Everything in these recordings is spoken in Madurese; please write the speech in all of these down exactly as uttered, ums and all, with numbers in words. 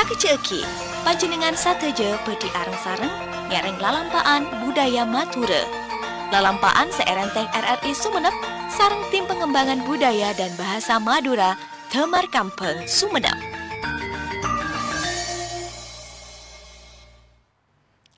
Kejjhâ'âghi, panjhennengngan sadhâjâ bhâdhi areng-sareng ngèrèng lalampa'an budaya Madhurâ. Lalampa'an sè èrèntèng R R I Sumenep sareng Tim Pengembangan Budaya dan Bahasa Madura, Damar Kambhâng, Sumenep.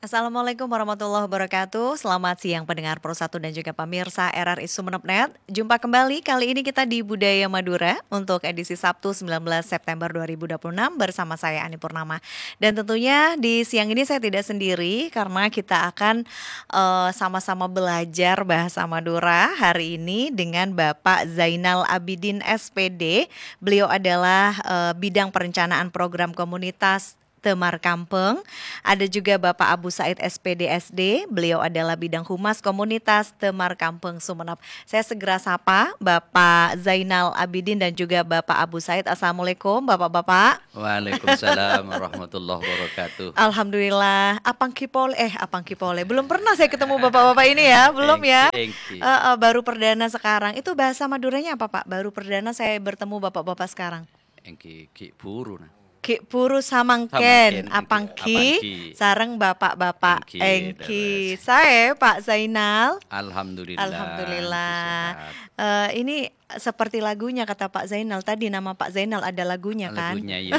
Assalamualaikum warahmatullahi wabarakatuh. Selamat siang pendengar Pro satu dan juga pemirsa R R I Sumenep Net. Jumpa kembali kali ini kita di Budaya Madura untuk edisi Sabtu sembilan belas September dua ribu dua puluh enam bersama saya Ani Purnama. Dan tentunya di siang ini saya tidak sendiri karena kita akan, eee, sama-sama belajar bahasa Madura hari ini dengan Bapak Zainal Abidin S P D. Beliau adalah, eee, bidang perencanaan program komunitas Damar Kambhâng. Ada juga Bapak Abu Said S P D S D, beliau adalah bidang humas komunitas Damar Kambhâng Sumenep. Saya segera sapa Bapak Zainal Abidin dan juga Bapak Abu Said. Assalamualaikum, Bapak-bapak. Waalaikumsalam warahmatullahi wabarakatuh. Alhamdulillah, apangghi polè, eh, apangghi polè. Belum pernah saya ketemu bapak-bapak ini ya, belum ya? Thank you, thank you. Eh, eh, baru perdana sekarang. Itu bahasa Maduranya apa, Pak? Baru perdana saya bertemu bapak-bapak sekarang. Èngghi, ghi' buru, nah. Ghi' buru samangkèn, samangkèn, èngghi, apangghi, apangghi. Sareng bapak-bapak. Èngghi, èngghi, leres. Saè, Pak Zainal? Alhamdulillah, alhamdulillah. Sehat. Eh, ini seperti lagunya, kata Pak Zainal tadi, nama Pak Zainal ada lagunya, kan? Lagunya, iya.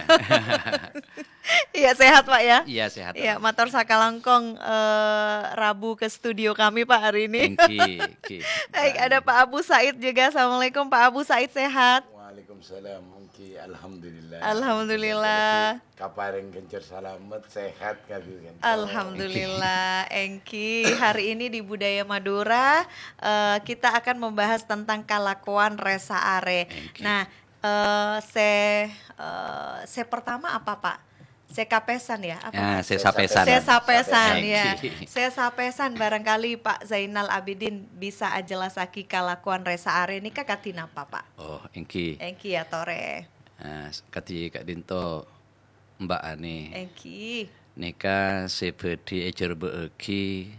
Iya, sehat, Pak, ya? Iya, sehat, iya, alhamdulillah. Mator sakalangkong, eh, rabu ke studio kami, Pak, hari ini. Èngghi, èngghi. Baik, ada Pak Abu Said juga. Assalamualaikum, Pak Abu Said, sehat? Waalaikumsalam. Èngghi, alhamdulillah. Alhamdulillah. Kaparèng ghânjhâr salamet, sehat kabhi kan. Alhamdulillah, èngghi. Hari ini di Budaya Madura, eh, kita akan membahas tentang kalakowan rè-saarè. Èngghi. Nah, eh, sè, eh, sè pertama apa, Pak? Sè kapèsan, ya? Apa, ya, Pak? Sè sapèsan. Sè sapèsan, ya. Èngghi. Sè sapèsan, barangkali Pak Zainal Abidin bisa ajellassaghi kalakowan rè-saarè nèka kadhi napa, Pak? Oh, èngghi. Èngghi, atorè. Nah, s-, kadhi ka'dinto, Mbak Ani. Èngghi. Nèka sè bhâdhi èjhârbâ'âghi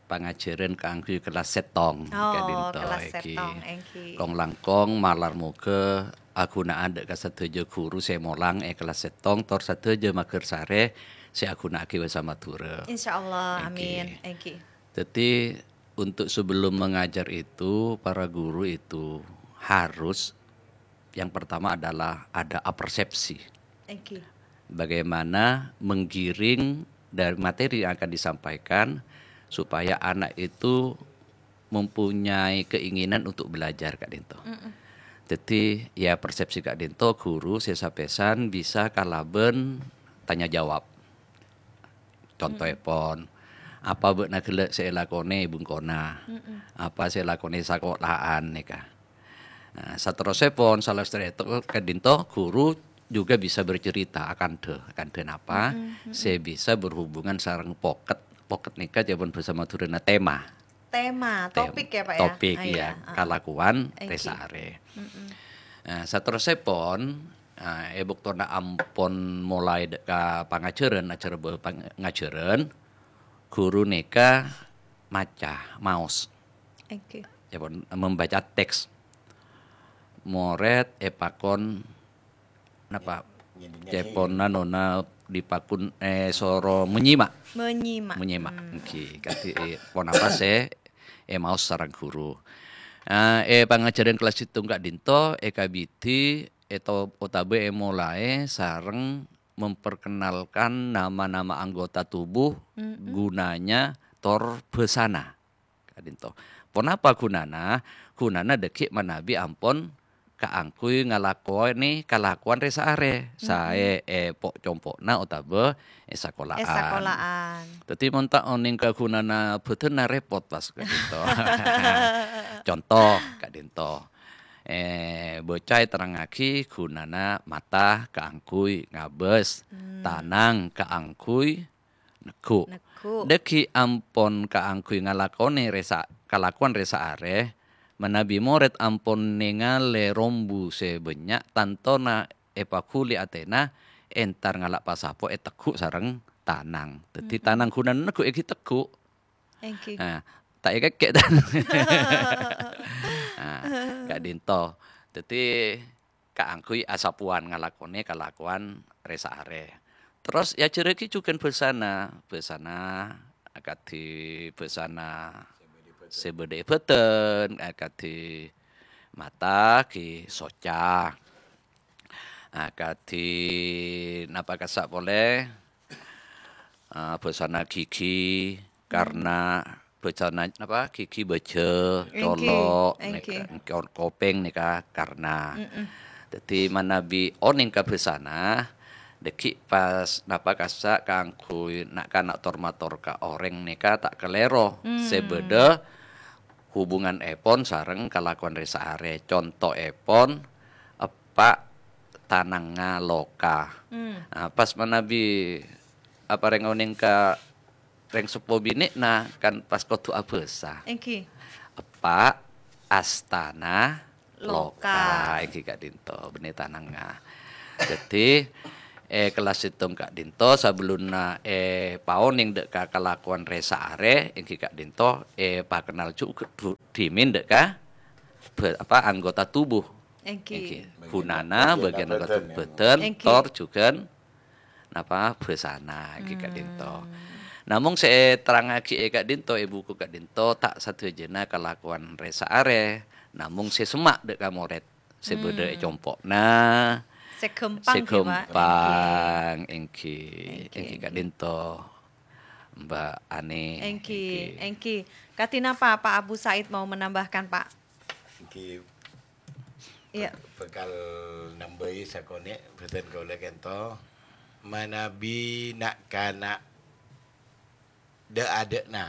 pangajhârân kaangghuy kellas sèttong, oh, ka'dinto, kellas èngghi. Sèttong, èngghi. Kong-langkong malar moghâ aghuna'an dâ' ka sadhâjâ ghuru sè molang è kellas sèttong, tor sadhâjâ maghârsarè sè aghuna'aghi bhâsa Madhurâ. Insyaallah, èngghi. Amin, èngghi. Jadi, untuk sebelum mengajar itu, para guru itu harus, yang pertama adalah ada apersepsi. Èngghi. Bagaimana menggiring dari materi yang akan disampaikan supaya anak itu mempunyai keinginan untuk belajar, ka'dinto. Mm-mm. Jadi, ya, persepsi ka'dinto, guru sè sapèsan bisa kalabân tanya jawab. Contoèpon, apa bâ'na ghellâ' sè èlakonè è bengkona? Mm-mm. Apa sè èlakonè sakola'an nèka? Nah, saterrossèpon, salèstèr èto-, ka'dinto, guru juga bisa bercerita akantha, akantha napa, mm-mm, mm-mm, sè bisa berhubungan sareng poket. Poket nèka jhâman bhâsa Madhurâna tema. Tema, tem-, topik ya, Pak, ya? Topik, ah, iya, ya. Ah. Kalakowan, èngghi, rè-saarè. Mm-mm. Nah, saterrossèpon, nah, è bâktona ampon molaè dâ' ka pangajhârân, ajhâr bâ-, pangajhârân, ghuru nèka maca, maos. Èngghi. Èpon membaca teks. Morèd èpakon Napa? Nyèdi-nyèdi. Cèpon anona dipakon, eh, soro menyimak. Menyimak. Menyimak. Hmm. Èngghi, kadhi, eh, ponapa sè èmaos sareng ghuru. Eh, è pangajhârân kellas sèttong ka'dinto èkabidhi èto-, otabâ èmolaè sareng memperkenalkan nama-nama anggota tubuh, mm-mm, gunanya, tor bhâsana. Ka'dinto. Ponapa ghunana? Ghunana dhâggi' manabi ampon kaangghuy ngalakonè kalakowan rè-saarè, mm-mm, saè è po'-compo'na otabâ è sakola'an. È sakola'an. Dhâddhi, mon ta' onèng ka ghunana bhâdhânna rèpot pas ka'dinto. Conto, ka'dinto. Eh, bâca èterrangngaghi ghunana mata kaangghuy ngabâs, hmm, tanang kaangghuy negghu'. Negghu'. Dhâggi' ampon kaangghuy ngalakonè rè-sa-, kalakowan rè-saarè, manabi morèd ampon nèngalè rombu sè bânnya', tantona èpaghuli atèna, entar ngala' pasapo ètegghu' sareng tanang. Dhâddhi, mm-mm, tanang ghunana negghu' èngghi tegghu'. Èngghi. Nah, ta' èkèkkè' tanang. Nah, ka'dinto. Dhâddhi, kaangghuy asapowan ngalakonè kalakowan rè-saarè. Terros èajhârraghi jhughân bhâsana, bhâsana akadhi bhâsana sè bâdâ è bâdân, akadhi mata ghi soca. Akadhi napa kassa' polè? Ah, bhâsana ghighi, karna bhâsana napa? Ghighi bâjâ, Èngghi, colo', èngghi. nèka, ko-, kopèng nèka karna. Mm-mm. Dhâddhi manabi onèng ka bhâsana, dhâggi' pas napa kassa' kaangghuy na'-kana' tor-mator ka orèng nèka ta' kalèro. Sè Hmm. bâdâ hubungan èpon sareng kalakowan rè-saarè. Contoèpon, eppa' tanangnga loka. Hmm. Ah, pas manabi aparèng onèng ka rèng seppo binè'na kan pas kodhu abhâsa. Èngghi. Eppa' astana Loka. loka, èngghi ka'dinto, bânnè tanangnga. Dhâddhi, è kellas sèttong ka'dinto, sabellunna èpaonèng dâ' ka kalakowan rè-saarè, èngghi ka'dinto, èpakennal jhughân dhimèn dâ' ka bâ-, apa, anggota tubuh. Èngghi. Èngghi. Ghunana bâgiân anggota bâdân, tor jhughân napa bhâsana ghi ka'dinto. Namong sè èterrangngaghi è ka'dinto, è buku ka'dinto, ta' sadhâjâna kalakowan rè-saarè, namong sè semma' dâ' ka morèd sè bâdâ è compo'na, Sè ghâmpang, sè ghi, Pak. ghâmpang, èngghi, Èngghi, èngghi èngghi. ka'dinto, Mbak Ani, Èngghi, èngghi. èngghi. Kadhi napa Pak Abu Said mau menambahkan, Pak? Èngghi, Iya. bak-, bhâkal nambâi sakonè' bâdân kaulâ kento. Manabi na'-kana' dâ'-adâ'na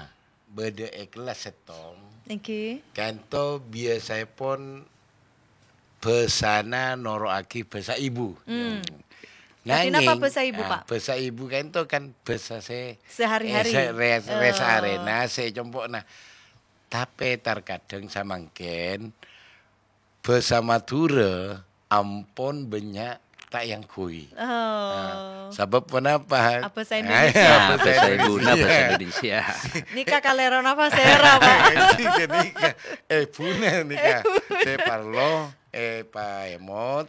bâdâ è kellas sèttong, Èngghi. kento biyasaèpon bhâsana noro'aghi bhâsa ibu. Hmm. Kadhi napa Nangèng, bhâsa ibu, ah, Pak? bhâsa ibu kento kan bhâsa sè, Sehari-hari. eh, sè rè-, Oh. rè-saarèna, sè compo'na. Tapè tarkadhâng samangkèn bhâsa Madhurâ ampon bânnya' ta' èangghuy. Oh. Nah, sabâb ponapa? Abhâsa Ah, Indonesia. iya, Ah, bhâsa bhâsa ibuna, Indonesia. bhâsa Indonesia. Nèka kalèrona pasèra, Pak? Nèka, nèka. Èbuna nèka. Èbuna. Sè parlo, èpaèmot.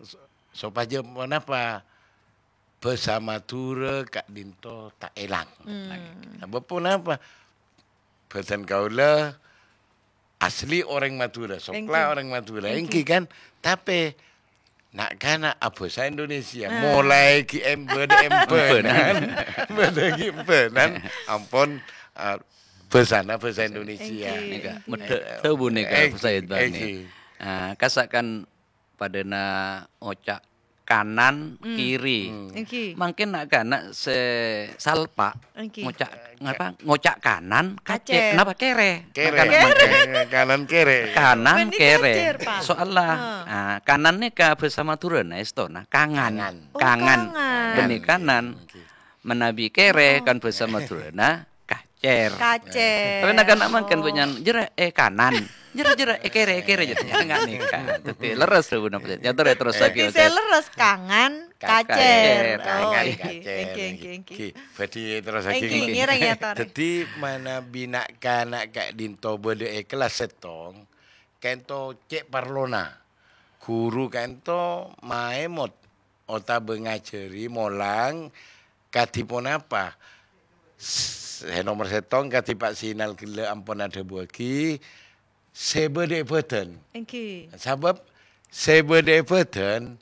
So-, sopajâ ponapa? Bhâsa Madhurâ ka'dinto ta' èlang. Hmm. Sabâb ponapa? Bhâdhân kaulâ asli orèng Madhurâ, sokla Èngghi. orèng Madhurâ, Èngghi. èngghi kan? Tapè na'-kana' abhâsa Indonesia, Nah. molaè ghi' em-, bâdâ embhânan, bâdâ ghi' embhânan, ampon, ah, bhâsana bhâsa Indonesia. Èngghi, Nèka, èngghi. medhâ' dhâbu nèka, Èngghi, Said Bani. èngghi. Ah, kassa' kan padâna oca' kanan, Hmm. kiri. Hmm. Èngghi. Mangkèn na'-kana' sè salpa' Èngghi. ngoca', ngapa? Ngoca' kanan, kacè'. Kacè'. Napa kèrè? Kèrè. Na'-kana' Kèrè. mangkèn. Kanan kèrè. Kanan Bukan kèrè. dikacèr, Pak. Soalla, Ah. ah, kanan nèka bhâsa Madhurâna èstona kangan. Kangan. Oh, Kangan. kangan. Bânnè kanan. Èngghi. Manabi kèrè Oh. kan bhâsa Madhurâna kacèr. Kacèr. Tapè na'-kana' mangkèn Oh. bânnya'an, "Jârâ, eh, kanan. Jârâ, jârâ, eh, kèrè, eh, kèrè," jârâ. Enggak nèka. Dhâddhi lerres, Bu, napa? Nyator ya terros Dhâddhi lagi, sè Ustaz. lerres kangan, Ka-, kacèr. kacèr, Oh, kangan, èngghi, kacèr, èngghi, èngghi, èngghi. èngghi. Bhâdhi terros lagi, Èngghi, èngghi. ngèrèng ya, Tor. Dhâddhi manabi na'-kana' ka'dinto bâdâ è kellas sèttong, kento cè' parlona. Ghuru kento maèmot otabâ ngajhâri molang kadhi ponapa? S-, sè nomer sèttong kadhi Pak Sinal ghellâ' ampon adhâbuwâghi, sè bâdâ è bâdân. Èngghi. Sabâb sè bâdâ è bâdân,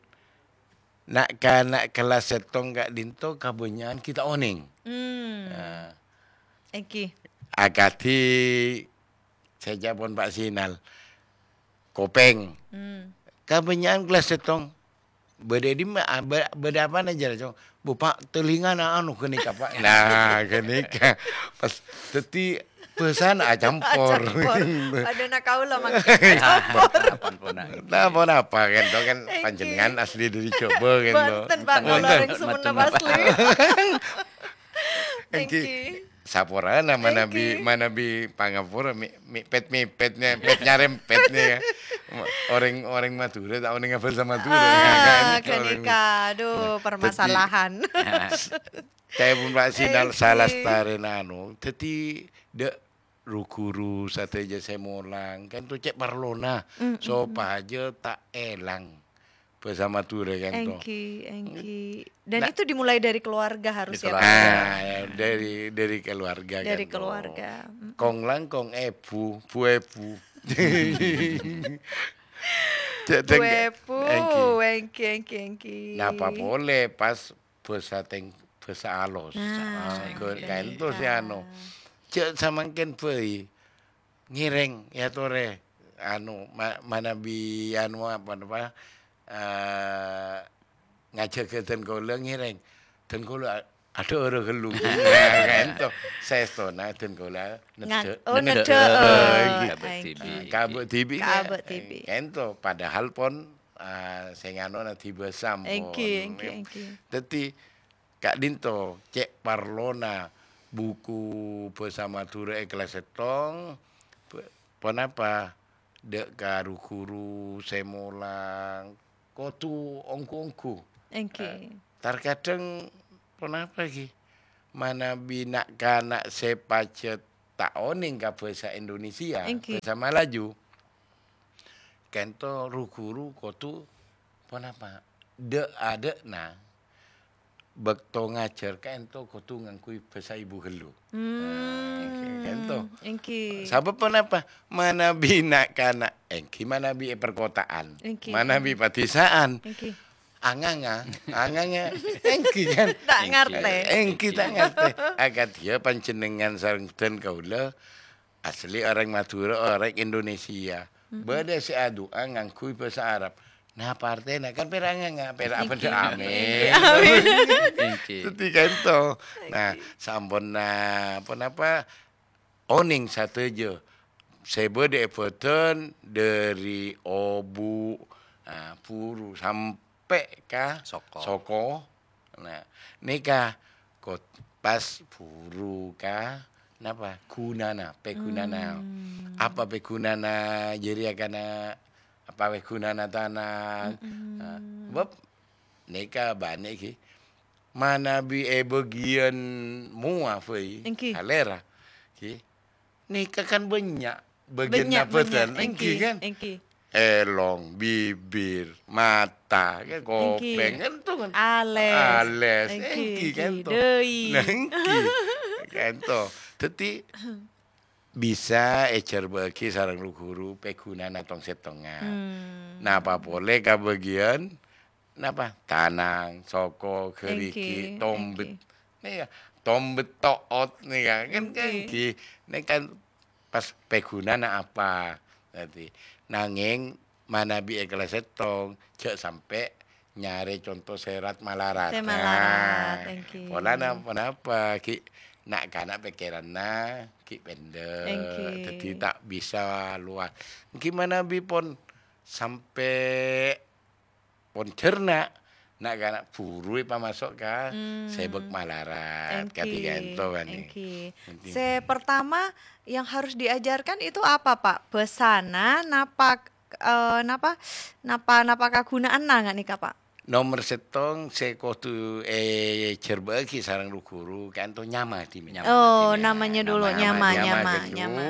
na'-kana' kellas sèttong ka'dinto kabânnya'an ghi' ta' onèng. Hmm. Nah. Èngghi. Akadhi sè èca'èpon Pak Sinal, kopèng. Hmm. Kabânnya'an kellas sèttong. Bâdâ è dimma, ah, bâ-, bâdâ apana jârèya, Cong? "Bu, Pak, telingana anu ghânèka, Pak." Nah, ghânèka. Pas dhâddhi bhâsana acampor. Acampor. Padâna kaulâ mangkèn acampor. Ampon, ampon, nah. Nah, ponapa, kan, to, kan, Èngghi. panjhennengngan asli dâri Jhâbâ, kan, to. Bhunten, Pak, Bhunten. kaulâ orèng Sumenep Bhunten, Pak. asli. Èngghi. Èngghi. Saporana manabi, Èngghi. manabi pangapura, mi-, mipet-mipetnya, pet nyarempetnya, ya. Orèng, orèng Madhurâ, ta' onèng bhâsa Madhurâ. Ah, Nah, kan, itu orèng ghânèka. Aduh, Dhâddhi, permasalahan. Ca'èpon Pak Sinal Èngghi. salastarèna anu. Dhâddhi, dâ' ru-ghuru sadhâjâ sè molang, kan to cè' parlona, Mm, mm, mm. sopajâ ta' èlang. bhâsa Madhurâ kan to. Èngghi, èngghi. Dan Nah. itu dimulai dari keluarga harus Di ya, Pak? keluarga. Ah, ya, dari, dari keluarga Dari kan to. keluarga. Mm-mm. Kong langkong, eh, bu, bu, eh, bu. Cek Bu, teng-, eh, bu. èngghi. Èngghi, èngghi, èngghi. Napa polè pas bhâsa teng-, bhâsa alos. Nah, Ah, bhâsa ke-, Inggris. kaènto sè anu. Cek samangkèn bhâi. Ngèrèng, ya torè. Anu, ma-, manabi anu apa, apa, eh, ngajhâghâ dân kaulâ ngèrèng. Dân kaulâ a-, adhâ' ghâllu. Nah, kaènto. Saèstona dân kaulâ Nga-, neddhâ'. oh, Neddhâ'. neddhâ'. Èngghi. Kabâ' dhibi'. Kabâ' dhibi'. Kabâ' dhibi'. Kaènto, padahal pon, ah, sè nganona dhibi' sampon. Èngghi, èngghi, èngghi. Dhâddhi, ka'dinto, cè' parlona buku bhâsa Madhurâ è kellas sèttong, p-, ponapa? Dâ' ka ru-ghuru sè molang, kodhu ongghu-ongghu. Èngghi. Eh, tarkadhâng ponapa ghi? Manabi na'-kana' sè pajhât ta' onèng ka bhâsa Indonesia, Èngghi. bhâsa Malaju, kaènto ru-ghuru kodhu ponapa? Dâ'-adâ'na bâkto ngajhâr kaènto kodhu ngangghuy bhâsa ibu ghâllu. Hmm, Nah, kaènto. èngghi. Sabâb ponapa? Manabi na'-kana', èngghi manabi è perkotaan, Èngghi. manabi padesaan. Èngghi. Anganga, anganga, èngghi kan? Ta' ngartè. Èngghi ta' ngartè. Akadhiyâ panjhennengngan sareng dân kaulâ, asli orèng Madhurâ, orèng Indonesia. Mm-mm. Bâdâ sè adu'a ngangghuy bhâsa Arab. Napa artèna? Kan pèra' nganga, pèra' Èngghi. bâdâ amin. Amin. Èngghi. Dhâddhi kaènto. Nah, Èngghi. samponna ponapa? Onèng sadhâjâ sè bâdâ è bâdân, dâri obu', ah, buru, sampè' ka Soko. soko. Nah, nèka kot-, pas buru ka, napa? Ghunana, pèghunana. Hmm. Apa pèghunana jârèya kana, apa pèghunana tanang? Mm-mm. Nah, bâb nèka bânnè ghi. Manabi è bâgiyân mowa bhâi, Èngghi. salèra, ghi. Nèka kan bânnya' bâgiyân Bânnya', bâdân, bânnya', èngghi èngghi, kan? èngghi. Èlong, bibir, mata, kan Èngghi. kopèng, kan to kan? Alès. Alès, Èngghi, èngghi, kan èngghi. to? Dâi. Nah, èngghi. Kan to. Dhâddhi, bisa èjhârbâ'âghi sareng ru-ghuru pèghunana tong-sèttongan. Hmm. Napa polè ka bâgiyân, napa? Tanang, soko, ghârighi', Èngghi, tombet. èngghi. Nèka, tombet to'ot nèka, kan, kan Èngghi. èngghi. Nèka kan pas pèghunana apa? Dhâddhi, nangèng manabi è kellas sèttong, jhâ' sampè' nyarè conto sè rat-malarat. Sè malarat, Nah, èngghi. polana ponapa? Ghi' na'-kana' pèkkèranna ghi' pendek. Èngghi. Dhâddhi ta' bisa luas. Èngghi manabi pon sampè' pon jhârna', na'-kana' buru èpamaso' ka Hmm. sèbâk malarat, Èngghi, kadi kaènto, kan, èngghi. Èngghi. Sè pertama yang harus diajarkan itu apa, Pak? Bhâsana, napa, eh, napa, napa, napa kagunaanna nga' nèka, Pak? Nomer sèttong sè kodhu èjhârbâ'âghi sareng ru-ghuru, kaènto nyama dhimèn. Nyama Oh, dhimèn. namanya dulu, Nyama, nyama, nyama, nyama, ghâllu. nyama.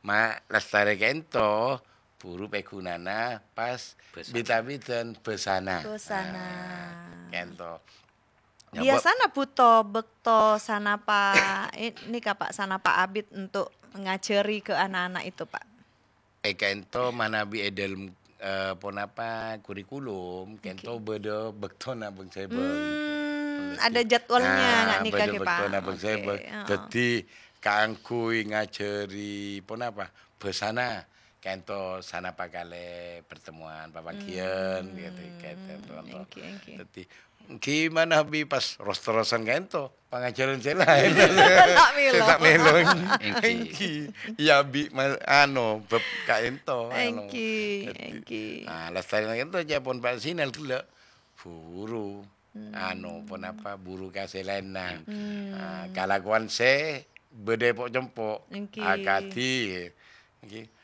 Ma-, lastarè kaènto, buru pèghunana pas Bhâsana. bit-abitan bhâsana. Bhâsana. Nah, kaènto. Nyapa? Biyasana bhuto bâkto sanapa, eh, nèka, Pak, sanapa abit untuk ngajari ke anak-anak itu, Pak? Eh, kaènto manabi è dâlem, eh, ponapa kurikulum, kaènto Oke. bâdâ bâktona bâng-sèbâng. Hmm, Dhâddhi, ada jadwalnya, ah, nggak nih, bâdâ Kak, Pak? bâktona bâng-sèbâng. Oke, heeh. Dhâddhi, kaangghuy ngajari ponapa? Bhâsana. Kaènto sanapa kalè pertemuan, papangghiyân, Hmm, gitu, kaènto, kaènto. èngghi, èngghi. Dhâddhi, èngghi manabi pas ros-terrosan kaènto, pangajhârân sè laèn. Ta' mèlo. Sè ta' mèlo. Èngghi. Èngghi. Iyâ, bi-, ma-, anu, bab kaènto, anu. Èngghi, Dhâddhi, èngghi. ah, lastarè kaènto jhâ' pon Pak Sinal ghellâ'. Buru. Hmm. Anu, ponapa, buru ka sè laènna. Hmm. Ah, kalakowan sè bâdâ èpo'-compo'. Èngghi. Akadhi, èngghi.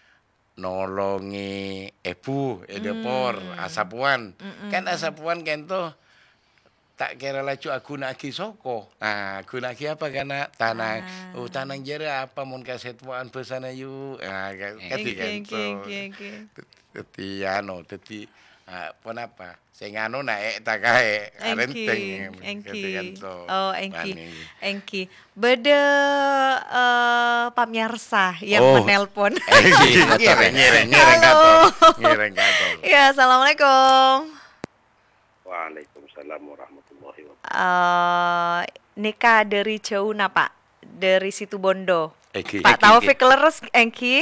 Nolongè èbhu è dâpor, Hmm. asapowan. Mm-mm. Kan asapowan kaènto ta' kèra laju aghuna'aghi soko. Nah, aghuna'aghi apa, kana'? Tanang. Tanang. Oh, tanang jârèya apa mon kasèttowa'an bhâsana, yu? Nah, ka-, Èngghi, kadi èngghi, kaènto. èngghi, èngghi. Dhâddhi, anu, dhâddhi, Ah, ponapa? Sè nganu naè' ta' kaè, Èngghi, arèntèng, èngghi. Ghântè-ghânto. Oh, èngghi. Èngghi. Bâdâ, eh, pamèyarsa yang Oh. menelpon. Èngghi, ngèrèng, ngèrèng, ngèrèng Halo. ka'ḍinto. Ngèrèng ka'ḍinto. Ya, assalamualaikum. Waalaikumsalam warahmatullahi wabarakatuh. Eh, nèka ḍâri jhâu napa? Ḍâri Situbondo. Èngghi. Pak Èngghi, Taufik èngghi. Lerres, èngghi?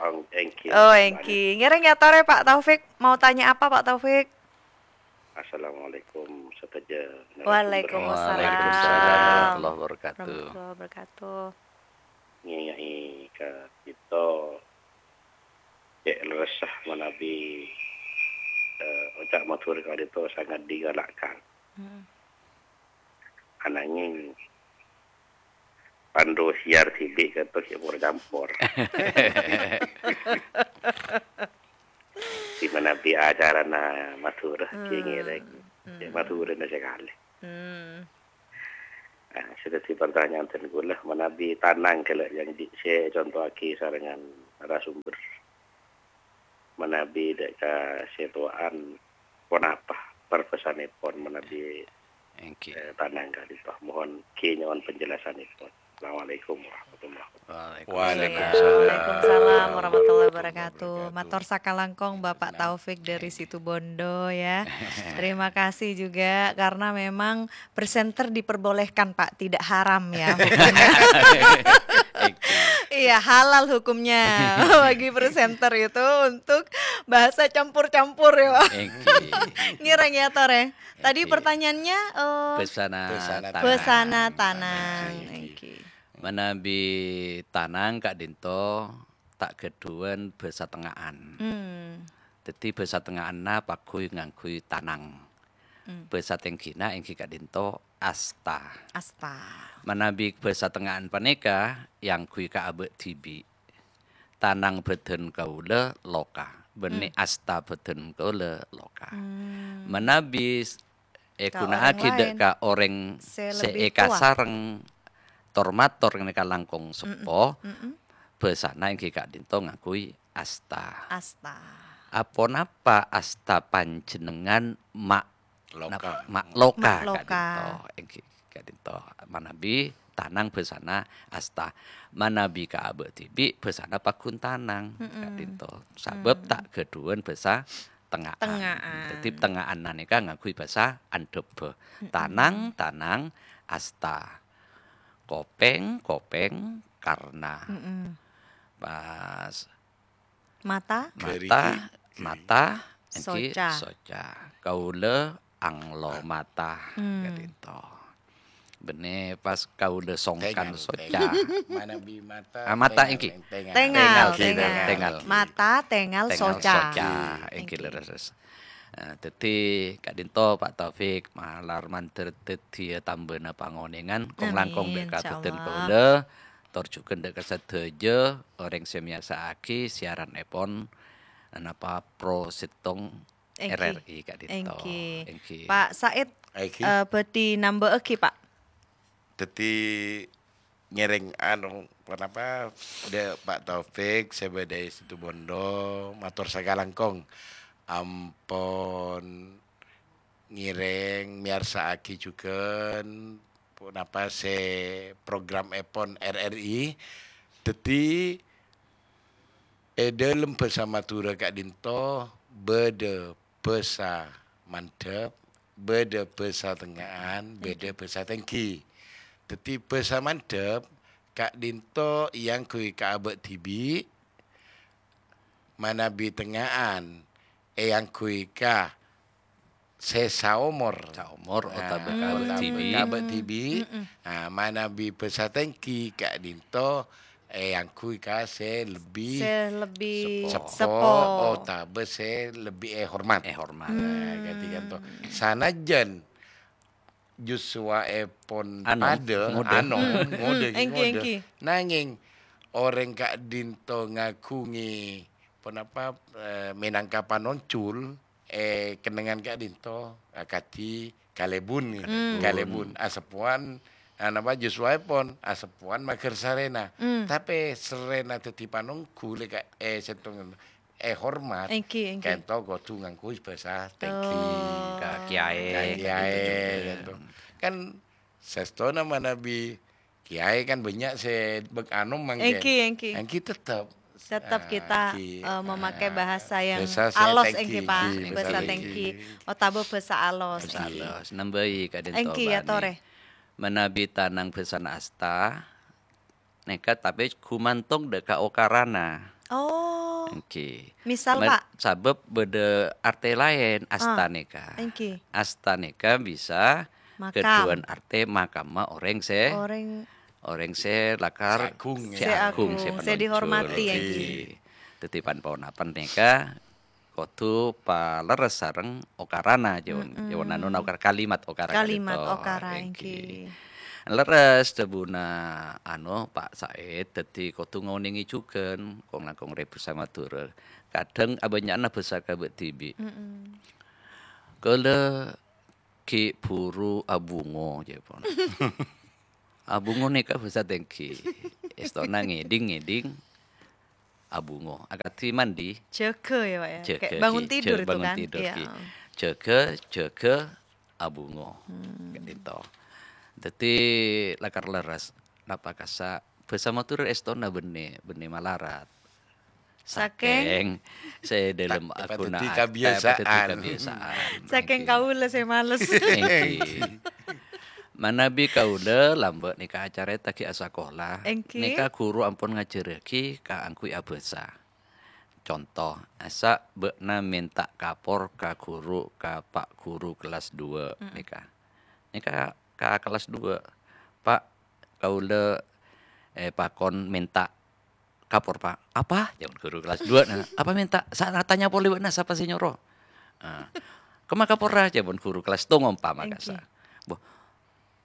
Ang-, èngghi, Oh, Mbak. èngghi. Ngèrèng ya, Tore, Pak Taufik. Mau tanya apa, Pak Taufik? Assalamualaikum, sadhâjâ narasumber. Waalaikumsalam. Waalaikumsalam warahmatullahi wabarakatuh. Warahmatullahi wabarakatuh. Ngèyaè ka ka'ḍinto, cè' lerressa manabi, eh, oca' Madhurâ ka'ḍinto sangat digalakkan. Hmm. Ananging, panḍu siar dhibi' ka'ḍinto sè pora campor. Di manabi acarana Madhurâ, Hmm. ghi ngèrèng. Hmm. Cè' Madhurâna sakalè. Hmm. Ah, sè dhâddhi partanyaan dhân kaulâ, manabi tanang ghellâ' yang di-, sè èconto'aghi sarengngan narasumber. Manabi ḍâ' ka sè towa'an, ponapa parbhâsanèpon manabi, Èngghi. eh, tanang ka'ḍinto? Mohon ghi nyo'on penjelasanèpon. Assalamualaikum warahmatullahi wabarakatuh. Waalaikumsalam. Waalaikumsalam warahmatullahi wabarakatuh. Mator sakalangkong Bapak Taufik dari Situbondo ya. Terima kasih juga karena memang presenter diperbolehkan, Pak, tidak haram ya hukumnya. Iya, halal hukumnya bagi presenter itu untuk bahasa campur-campur ya, Pak. Èngghi. Ngèrèng ya, Tore. Tadi Èngghi. pertanyaannya, eh, Bhâsana Bhâsana tanang. bhâsana tanang. Èngghi. Èngghi. Manabi tanang ka'ḍinto ta' ghâḍhuwân bhâsa tengnga'an. Hmm. Dhâddhi bhâsa tengnga'anna pagghun ngangghuy tanang. Hmm. Bhâsa tèngghina èngghi ka'ḍinto asta. Asta. Manabi bhâsa tengnga'an panèka èangghuy ka abâ' dhibi'. Tanang bhâdhân kaulâ loka, bânnè Hmm. asta bhâdhân kaulâ loka. Hmm. Manabi s-, Ka èghuna'aghi orèng ḍâ' laèn ka orèng sè sè lebbi towa. èkasareng tor-mator nèka langkong Mm-mm. seppo, Mm-mm. bhâsana èngghi ka'ḍinto ngangghuy asta. Asta. Aponapa asta panjhennengngan ma' Loka. nap-, ma' loka Ma' loka. ka'ḍinto? Èngghi ka'ḍinto. Manabi tanang bhâsana asta. Manabi ka abâ' dhibi' bhâsana pagghun tanang Mm-mm. ka'ḍinto. Sabâb Mm. ta' ghâḍhuwân bhâsa tengnga'an. Tengnga'an. Dhâddhi tengnga'an nèka ngangghuy bhâsa anḍhâbbhâ. Mm-mm. Tanang, tanang, asta. Kopèng, kopèng, karna. Mm-mm. Pas Mata. Mata, Ghârighi. mata, èngghi Soca. soca. Kaulâ anglo mata, Hmm. ka'ḍinto. Bânnè pas kaulâ songkan Tèngal, soca. tèngal. Manabi mata, Ah, mata tèngal, èngghi. tèngal. Tèngal, Tèngal, tèngal. tèngal. Mata, tèngal, Tèngal soca. soca, èngghi Èngghi. lerres. Eh, dhâddhi ka'ḍinto Pak Taufik, malar mandhâr dhâddhiyâ tambâna pangonèngan, kong-langkong Amin, ḍâ' ka bhâdhân insya Allah. kaulâ, tor jhughân ḍâ' ka sadhâjâ orèng sè mèyarsa'aghi siaranèpon, napa, Pro Settong Èngghi. R R I ka'ḍinto. Èngghi. Èngghi. Pak Said, Èngghi. eh, bhâḍhi nambâ'âghi, Pak? Dhâddhi ngèrèng, anu, ponapa, ḍâ' Pak Taufik sè bâḍâ è Situbondo, mator sakalangkong. Ampon ngèrèng, mèyarsa'aghi jhughân, ponapa sè programèpon R R I. Dhâddhi, è ḍâlem bhâsa Madhurâ ka'ḍinto bâḍâ bhâsa mandhâp, bâḍâ bhâsa tengnga'an, bâḍâ bhâsa tèngghi. Dhâddhi, bhâsa mandhâp ka'ḍinto èangghuy ka abâ' dhibi', manabi tengnga'an èangghuy ka sè saomor. Saomor Nah, otabâ ka abâ' otabâ dhibi'. ka abâ' dhibi'. Mm-mm. Nah, manabi bhâsa tèngghi ka'ḍinto èangghuy ka sè lebbi Sè lebbi seppo. seppo. Seppo, otabâ sè lebbi èhormat. Èhormat. Nah, Hmm. ka'ḍinto. Sanajjân jus suwa'èpon Anom, paḍâ, ngodâ. anom, Hmm, ngodâ, hmm, èngghi, ngodâ. èngghi. Nangèng orèng ka'ḍinto ngaghungè ponapa, eh, mènangka panonjhul, eh, kennengngan ka'ḍinto, akadhi kalèbun, Hmm. kalèbun. Aseppowan, ah, napa, jus suwa'èpon, aseppowan maghâr sarèna. Hmm. Tapè sarèna dhâddhi panongghu lè ka-, eh, sèttong, èhormat, èngghi, èngghi, ka'dinto kodhu ngangghuy bhâsa tèngghi. Oh. Ka kiyaè, ka kiyaè, ka'dinto jhughân. Kan sèstona manabi kiyaè kan bânnya' sè bek-, anu mangkèn. Èngghi, èngghi. Èngghi tettep. Tetap Ah, kita, èngghi. Eh, memakai Ah, bahasa yang bhâsa sè alos, tèngghi, èngghi, Pak. Èngghi, bhâsa bhâsa tèngghi. Tèngghi. Otabâ bhâsa alos. Bhâsa alos. Nambâi ka'dinto, èngghi, ya, bânnè. Torè. Manabi tanang bhâsana asta, nèka, tapè ghumantong dâ' ka okarana. Oh. Èngghi. Misal, Pak? Sabâb bâdâ artè laèn asta nèka. Ah, èngghi. Asta nèka bisa ghâḍhuwân artè makamma orèng sè, orèng, orèng sè lakar sè agung, sè agung, sè agung, sè panonjhur, dihormati, èngghi. Èngghi. Dhâddhi pan-ponapan nèka kodhu palerres sareng okarana, jhân, jhân anu, okar kalimat okara ka'dinto. Kalimat okara, èngghi. Lerres dhâbuna, anu, Pak Said, dhâddhi kodhu ngonèngè jhughân, kong-langkong rè bhâsa Madhurâ. Kadhâng abânnya'anna bhâsa ka bâ' dhibi'. Mm-mm. Kaulâ ghi' bhuru abungo, jhâ' pon. Abungo nèka bhâsa tèngghi. Èstona ngèḍing-ngèḍing abungo. Akadhi mandi. Jâgâ ya, Pak, ya? Jâgâ, kayak bangun tidur itu kan? Bangun tidur, iya. Jâgâ, jâgâ abungo. Hmm. Ka'dinto. Dhâddhi lakar lerres, napa kassa' bhâsa Madhurâ èstona bânnè, bânnè malarat. Sakèng sakèng sè ḍâlem ta-, ta-, aghuna dhâddhi at-, kabiyasaan. Ta-, dhâddhi kabiyasaan. Sakèng èngghi. Kaulâ sè males. Èngghi. Manabi kaulâ lambâ' nèka acarèta ghi' asakola. Èngghi. Nèka ghuru ampon ngajhârraghi kaangghuy abhâsa. Conto, asa bâ'na mènta kapor ka ghuru, ka Pak Ghuru kelas dua, mm-mm, nèka. Nèka ka kelas dua, "Pak, kaulâ, eh, pakon mènta kapor, Pak." "Apa?" jâwâb ghuru kelas dua, nah. "Apa mènta?" "Sa-, tanya polè bâ'na, sapa sè nyoro?" Ah. "Kemma kaporra?" jâwâb ghuru kelas tong ompa makassa. Èngghi. "Bo,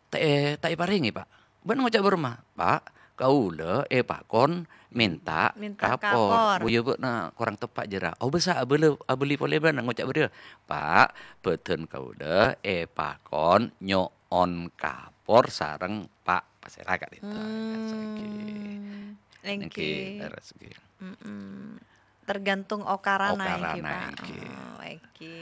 ta' è-, ta' èparèngè, Pak." Bâ'na ngoca' bârâmma? "Pak, kaulâ èpakon mènta kapor." Mènta kapor. "Bo, yâ bâ'na korang teppa' jârèya." "Oh, bisa abâlâ-, abâli polè bâ'na ngoca' bâriyâ." "Pak, bâdân kaulâ èpakon nyo'on kapor sareng Pak." Pasèra ka'dinto. Hmm. Èngghi. Èngghi, lerres, èngghi. Mm-mm. Tergantung okarana, èngghi, Pak. Okarana, èngghi. Oh, èngghi.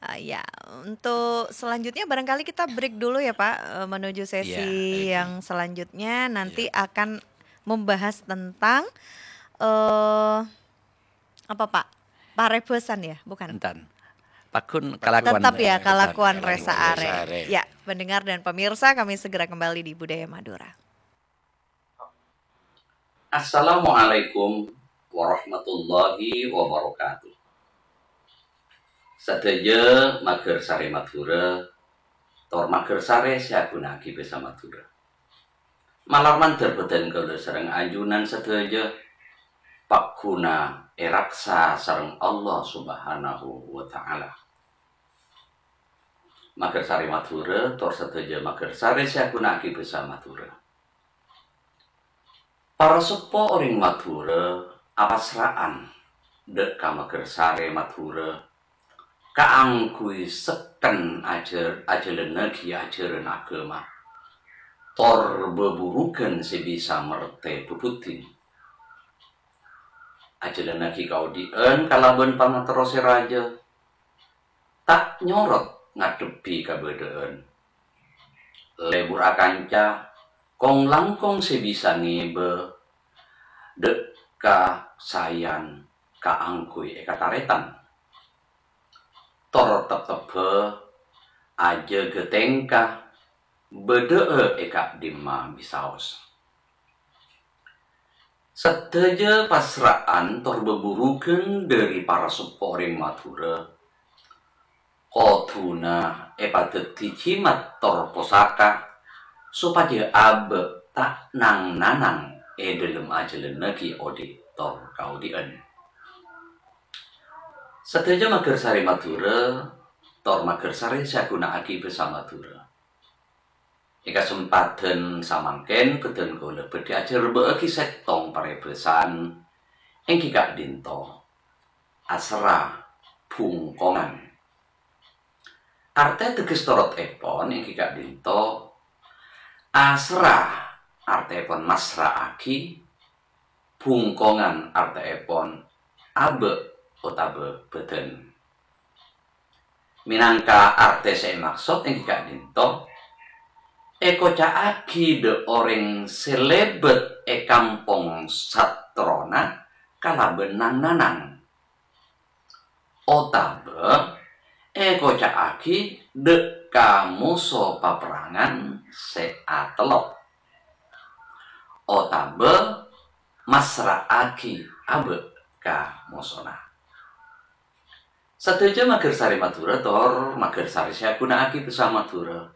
Ah, ya, untuk selanjutnya barangkali kita break dulu ya, Pak, eh, menuju sesi, iya, èngghi, yang selanjutnya. Nanti, iya, akan membahas tentang, eh, apa, Pak? Parèbhâsan ya, bukan? Enten. Pagghun kalakowan. Tetap ya, kalakowan rèsa arè. Rèsa arè. Ya, pendengar dan pemirsa, kami segera kembali di Budaya Madura. Assalamualaikum warahmatullahi wabarakatuh. Sadhâjâ maghârsarè Madhurâ, tor maghârsarè sè aghuna'aghi bhâsa Madhurâ. Malar mandhâr bhâdhân kaulâ sareng ajunan sadhâjâ pagghuna èraksa sareng Allah Subhanahu wa Ta'ala. Maghârsarè Madhurâ, tor sadhâjâ maghârsarè sè aghuna'aghi bhâsa Madhurâ. Para seppo orèng Madhurâ apasra'an dâ' ka maghârsarè Madhurâ kaangghuy sekken ajhâr-, ajhâlânnaghi ajhârân aghâma, tor bhâbhurughân sè bisa mertè bhâbhuddhin. Ajhâlânnaghi kaodi'ân kalabân pangaterro sè rajâ, ta' nyorot ngadhebbhi kabâdâ'ân. Lebur akanca, kong-langkong sè bisa ngèbâ dâ' ka saèyan kaangghuy èkatarètan. Tor teptebbhâ ajâgâ tèngka, bâdâ'â è ka'dimma bisaos. Sadhâjâ pasra'an tor bhâbhurughân dhâri para seppo orèng Madhurâ kodhuna èpadhâddhi jimat tor posaka, sopajâ abâ' ta' nang-nanang è dhâlem ajhâlânnaghi odi' tor kaodi'ân. Sadhâjâ maghârsarè Madhurâ tor maghârsarè sè aghuna'aghi bhâsa Madhurâ. È kasempadhân samangkèn bhâdhân kaulâ bhâdhi ajhârbâ'âghi sèttong parèbhâsan, èngghi ka'dinto, aserra bhungkongan. Artè teges torotèpon èngghi ka'dinto, aserra artèèpon masra'aghi, bhungkongan artèèpon abâ' otabâ bâdân. Mènangka artè sè èmaksod èngghi ka'dinto, èkoca'aghi dâ' orèng sè lèbât è kampong sattrona kalabân nang-nanang. Otabâ èkoca'aghi dâ' ka moso paperrangan sè atellep. Otabâ masra'aghi abâ' ka mosona. Sadhâjâ maghârsarè Madhurâ tor maghârsarè sè aghuna'aghi bhâsa Madhurâ.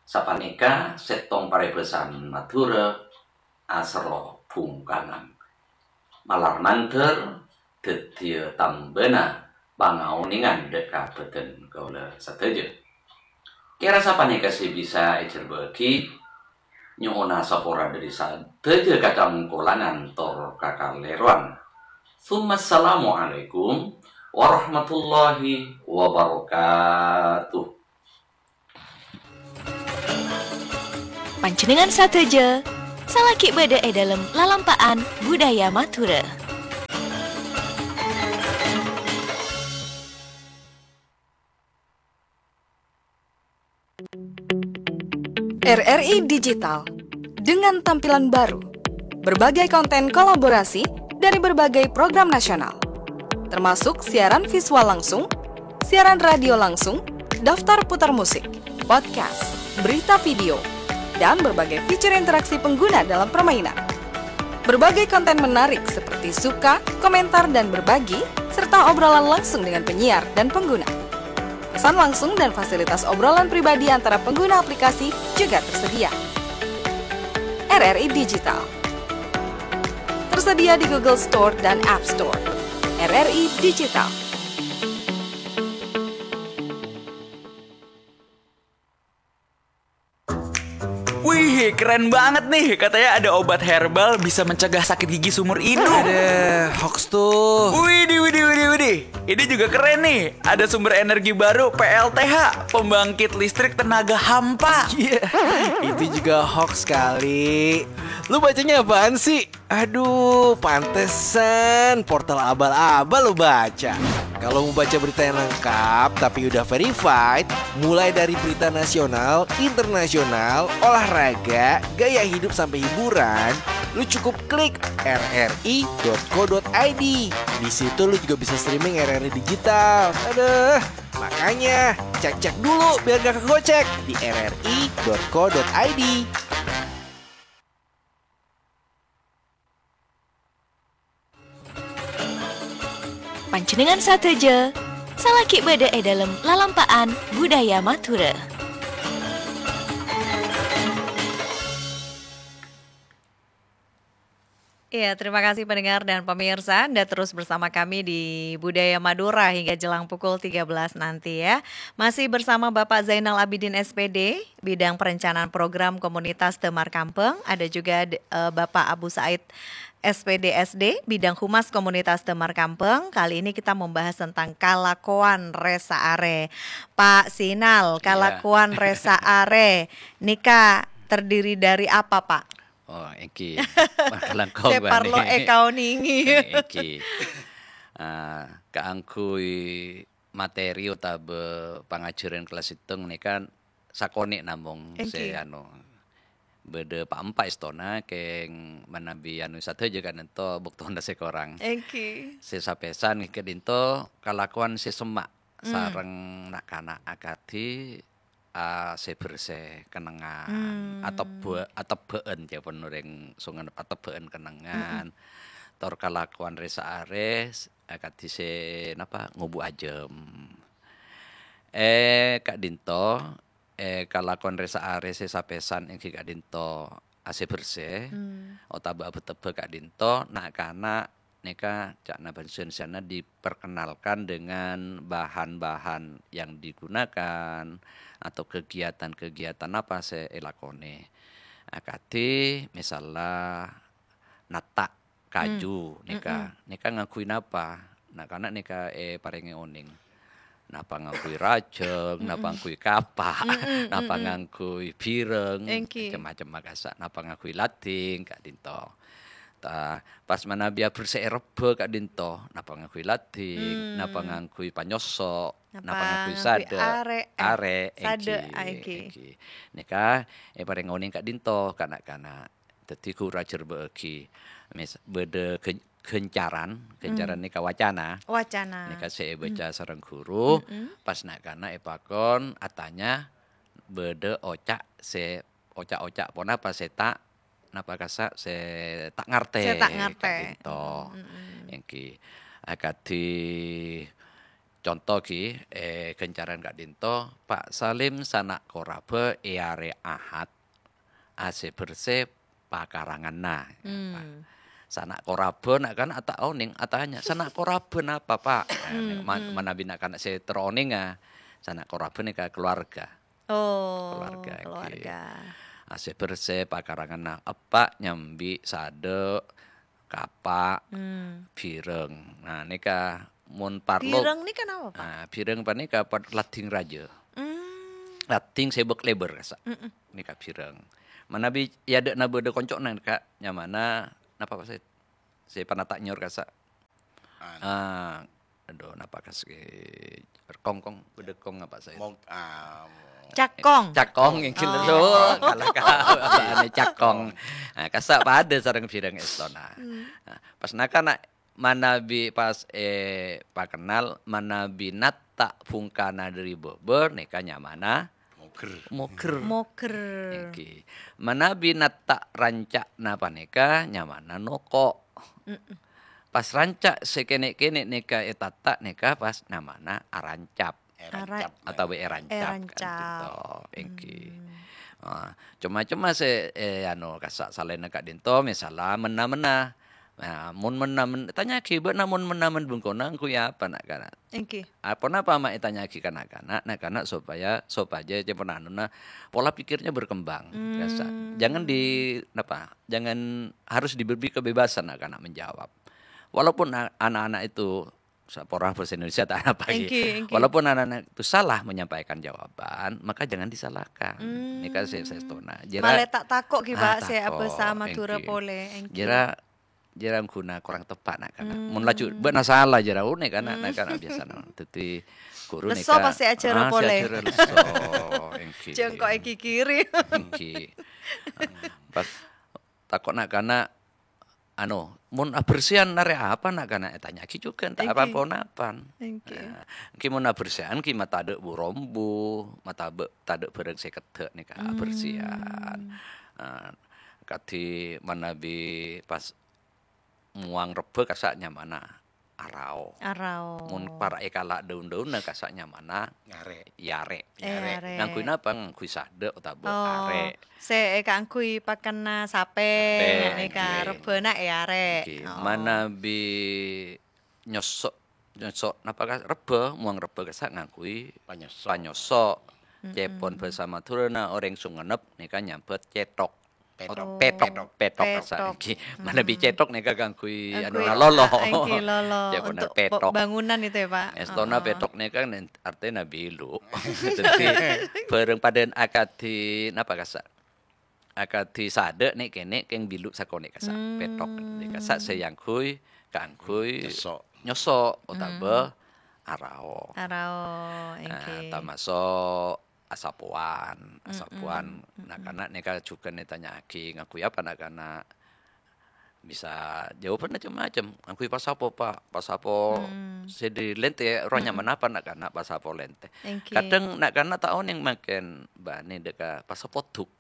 Sapanèka sèttong parèbhâsan Madhurâ aserro bhungkangan. Malar mandhâr dhâddhiyâ tambâna pangaonèngan dâ' ka bâdân kaulâ sadhâjâ. Kèra sapanèka sè bisa èjhârbâ'aghi, nyo'ona sapora dhâri sadhâjâ kacangkolangan tor kakalèrowan. Tsummassalamualaikum warahmatullahi wabarakatuh. Panjhennengngan sadhâjâ salaghi bâdâ è dâlem lalampa'an budaya Madhurâ. R R I Digital dengan tampilan baru. Berbagai konten kolaborasi dari berbagai program nasional, termasuk siaran visual langsung, siaran radio langsung, daftar putar musik, podcast, berita video, dan berbagai fitur interaksi pengguna dalam permainan. Berbagai konten menarik seperti suka, komentar, dan berbagi, serta obrolan langsung dengan penyiar dan pengguna. Pesan langsung dan fasilitas obrolan pribadi antara pengguna aplikasi juga tersedia. R R I Digital. Tersedia di Google Store dan App Store. R R I Digital. Wih, keren banget nih. Katanya ada obat herbal bisa mencegah sakit gigi seumur hidup. Ada hoax tuh. Widih, widih, widih, widih. Ini juga keren nih. Ada sumber energi baru, P L T H, pembangkit listrik tenaga hampa. Iya, itu juga hoax kali. Lu bacanya apaan sih? Aduh, pantesan portal abal-abal lu baca. Kalau mau baca berita yang lengkap tapi udah verified, mulai dari berita nasional, internasional, olahraga, gaya hidup sampai hiburan, lu cukup klik R R I dot co dot I D. Di situ lu juga bisa streaming R R I digital. Aduh, makanya cek-cek dulu biar gak kegocek di R R I dot co dot I D. Panjhennengngan sadhâjâ, salaghi bâdâ è dâlem lalampa'an budaya Madhurâ. Iya, terima kasih pendengar dan pemirsa, Anda terus bersama kami di Budaya Madura hingga jelang pukul tiga belas nanti ya. Masih bersama Bapak Zainal Abidin S P D, bidang perencanaan program komunitas Damar Kampeng, ada juga, eh, Bapak Abu Said S P D S D, bidang humas komunitas Damar Kampeng. Kali ini kita membahas tentang kalakowan rè-saarè. Pak Sinal, iya, kalakowan rè-saarè nèka terdiri dari apa, Pak? Oh, èngghi. Kalangkong sè parlo èkaonèngè. Èngghi. Ah, kaangghuy materi otabâ pangajhârân kellas sèttong nèka sakonè' namong sè, èngghi, anu, bâdâ pa'-empa' èstona kèng manabi anu sadhâjâ ka'dinto bâktona sè korang. Èngghi. Sè sapèsan ka'dinto kalakowan sè semma' hmm, sareng na'-kana' akadhi, ah, sè bersè kennengngan, hmm, atebba-, atebbhâ'ân, ca'èpon orèng Songennep, atebbhâ'ân kennengngan. Mm-mm. Tor kalakowan rè-saarè, s-, akadhi sè napa, ngobu ajâm. Eh, ka'dinto, eh, kalakowan rè-saarè sè sapèsan èngghi ka'dinto asè bersè, hmm, otabâ abetebbhâ ka'dinto, na'-kana' nèka ca'na bhâsa Indonesiana diperkenalkan dengan bahan-bahan yang digunakan atau kegiatan-kegiatan apa sè èlakonè. Akadhi, misalla, natta' kaju, hmm, nèka, mm-mm, nèka ngangghuy napa? Na'-kana' nèka èparèngè onèng. Napa ngangghuy rajâng, napa, mm-mm, ngangghuy kapa', mm-mm, napa, mm-mm, ngangghuy bireng, èngghi, macem-macem makasa', napa ngangghuy lading, ka'dinto. ta-, pas manabi aberse'è rebbhâ ka'dinto, napa ngangghuy lading, napa ngangghuy panyoso', napa ngangghuy sadhâ', arè', eh, arè', sadhâ', èngghi, ah, èngghi, èngghi. Nèka èparèng onèng ka'dinto ka na'-kana'. Dhâddhi ghuru ajhârbâ'âghi. Mis-, bâdâ ghân-, ghâncaran, ghâncaran nèka wacana. Wacana. Nèka sè èbâca sareng ghuru, pas na'-kana' èpakon atanya bâdâ oca' sè, oca'-oca' ponapa sè ta', napa kassa' sè ta' ngartè. Sè ta' ngartè. Ka'dinto. Mm-mm. Èngghi. Akadhi conto ghi, è ghâncaran ka'dinto, Pa' Salim sana' korabhâ è arè Ahad, asè-bersè pakaranganna. Hmm. Sana' korabhâ na'-kana' ta' onèng atanya, "Sana' korabhâ napa, Pa'?" Nah, hmm, man-, hmm. Manabi na'-kana' sè terro onènga, sana' korabhâ nèka keluarga. Oh, keluarga, èngghi. Keluarga. Asè-bersè pakaranganna, eppa' nyambi sadhâ', kapa', hmm, bhireng. Nah, nèka mon parlo. Bhireng nèka napa, Pa'? Ah, bhireng panèka pa-, lading rajâ. Hmm. Lading sè bâk-lèbâr kassa'. Mm-mm. Nèka bhireng. Manabi è adâ'na bâdâ konco'na, Ka', nyamana napa, Pa' Said? Sè panata' nyor kassa'. Anu. Ah, adhu, napa kas-, eh, kong, kong, bâdâ kong apa, Said? Mong-, ah, mo- Cakong. Cakong, èngghi, oh, lho. Kala-kala, cakong. Nah, kassa' padâ sareng bhireng èstona. Hmm. Nah, pas na'-kana' manabi pas, eh, pakennal, manabi natta' bhungkana dâri bâbâ, nèka nyamana Moger. Moger. Moger. Èngghi. Manabi natta' ranca'na panèka nyamana noko'. Mm-mm. Pas ranca' sè kènè'-kènè' nèka ètatta' nèka pas nyamana arancap. Èrancap. Ara-, otabâ èrancap, èrancap. Ka'dinto. Èngghi. Hmm. Ah, coma-coma sè, eh, anu, kassa' salaènna ka'dinto, misalla menna-menna. Nah, mon menna-men-, tanya'aghi, "Bâ'na mon menna-men bengkona ngangghuy apa, na'-kana'?" Èngghi. Aponapa ma' ètanya'aghi ka na'-kana'? Na'-kana' sopaya, sopajâ cempon anona pola pikirnya berkembang. Hmm. Biasa. Jangan di, napa, jangan, harus diberi kebebasan na'-kana' menjawab. Walaupun a-, anak-anak itu, saporana bahasa Indonesia ta' napa, ghi. Èngghi, èngghi. Walaupun anak-anak itu salah menyampaikan jawaban, maka jangan disalahkan. Hmm. Nèka sè, sè èstona. Jârâ, malè ta' tako', ghi, ah, Pa', sè tako', abhâsa Madhurâ, èngghi, polè, èngghi. Jârâ jârâ ghuna korang teppa' na'-kana'. Hmm. Mon laju bâ'na sala jârâ, oh, na'-kana', hmm, na'-kana' biyasana. Dhâddhi ghuru lesso nèka, pastè ajhârâ, ah, sè polè. Ajhârâ lesso, èngghi. Jhâ' engko' èkikiri. Èngghi. Pas tako' na'-kana', anu, "Mon abersihan arè apa, na'-kana'?" Ètanya'aghi jhughân, ta' èngghi, apa-ponapa. Èngghi. Nah, èngghi mon abersihan, ghi matadâ' bu-rombu, matabâ-, tadâ' bhârâng sè keddhâ' nèka, hmm, abersihan. Nah, kadhi manabi pas mowang rebbhâ kassa' nyamana arao. Arao. Mon para' èkala' dâun-dâunna kassa' nyamana nyarè'. Yarè'. Eh, yarè'. Ngangghuy napa? Ngangghuy sadhâ' otabâ, oh, arè'. Sè èkaangghuy pakanna sapè, sapè, nèka, èngghi, rebbhâna è arè'. Èngghi. Oh. Manabi nyoso', nyoso', napa ka-, rebbhâ, mowang rebbhâ kassa' ngangghuy panyoso'. Panyoso'. Mm-mm. Cèpon bhâsa Madhurâna orèng Songennep nèka nyambhât cèthok. Pèthok. Oh. Pèthok, pèthok, pèthok. Kassa' èngghi. Hmm. Manabi cèthok nèka ngangghuy, ngangghuy, anu, lolo. Ah, èngghi, lolo. Cèpon untuk pèthok. Bangunan itu ya, Pak? Èstona, heeh, pèthok nèka nen-, artèna bilu'. Dhâddhi, bhârâng padâna akadhi, napa kassa'? Akadhi sadhâ' nè'-kènè' kèng bilu' sakonè' kassa'. Hmm. Pèthok. Kassa' sè èangghuy, kaangghuy nyoso'. Nyoso', otabâ, hmm, arao. Arao, nah, èngghi. Tamaso' asapowan, asapowan. Mm-mm, mm-mm. Na'-kana' nèka jhughân ètanya'aghi, ngangghuy apa na'-kana'? Bisa jâwâbhânna cem-macem. Ngangghuy pasapo, Pa'. Pasapo, hmm, sè dâri lèntè, roh, mm-mm, nyamana apa na'-kana'? Pasapo lèntè. Èngghi. Kadhâng na'-kana' ta' onèng mangkèn bânnè dâ' ka pasapo dhuk.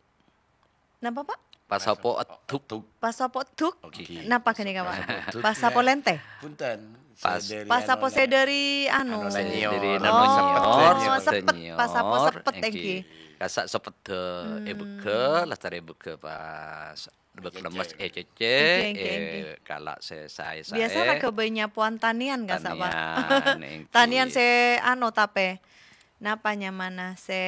Napa, Pa'? Pasapo eddhuk. Pasapo eddhuk? Oke. Napa ghânèka, Pa'? Pasapo eddhuk. Pasapo lèntè? Bhunten. Pas. Sè dâri, pasapo anu, sè dâri, anu, anu, sè dâri nyior. Nyior, oh, sepet, sepet, sepet nyior. Pasapo sepet, èngghi. Èngghi. Kassa' sepedda, hmm, èbâghâ, lastarè èbâghâ pas bâk lemmes, ècècè, ècècè, èngghi, èngghi, èkala' sè saè-saè. Biasa la ghâbây nyapowan tanèyan, kassa', Pa'? Tanèyan, èngghi. Tanèyan sè, anu, tapè. Napa nyamana sè